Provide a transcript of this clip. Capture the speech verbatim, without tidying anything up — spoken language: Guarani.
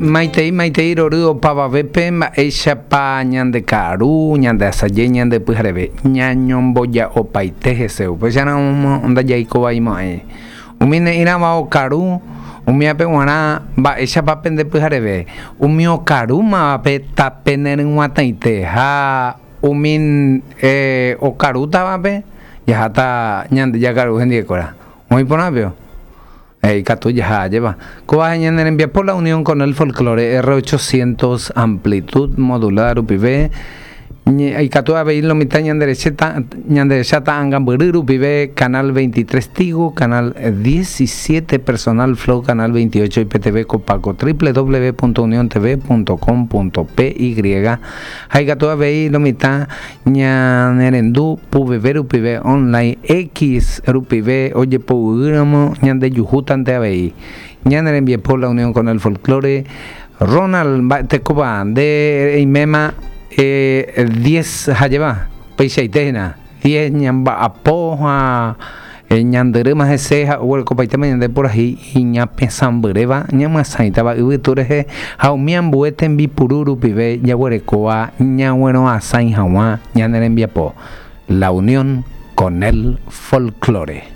Maitei, maitei rory opavavépe mba'éichapa ñandeka'aru, ñandeasaje, ñandepyhareve, ñañomboja'opaite hese upéicharamo ndajaikovaimo'ãi. Umi ne'írãva okaru, umiape g̃uarã mba'éichapa pendepyhareve, umi okarúmavape tape neryg̃uatãite ha umi eh, okarútavape jaháta ñande jakaru hendivekuéra. Oĩporãpio. Ikatu jaha ajépa. Kóva ñane rembiapo La Unión con el Folklore R ochocientos amplitud modulada rupive ikatu avei lo mitã ñanderecheta ñanderecha ta'angambyry rupive canal veintitrés Tigo, canal diecisiete Personal Flow, canal veintiocho I P T V Copaco, w w w punto unión t v punto com punto p y ha ikatu avei lo mitã ñanerendu P V rupive online X rupive ojepoguýramo ñandejuhútante avei. Ñane rembiapo La Unión con el Folklore. Ronald mba'etekópa nde eiméma eh, diez hajéva peichaite hína diez ñamba'apo ha ñandyrýma hese ha oguerekopaitéma ñande purahéi iñapesãmbyréva ñamyasãitava yvytu rehe ha umi ambue tembipuru rupive jaguerekóva ñaguerõasãi hag̃ua ñane rembiapo. La Unión con el Folklore.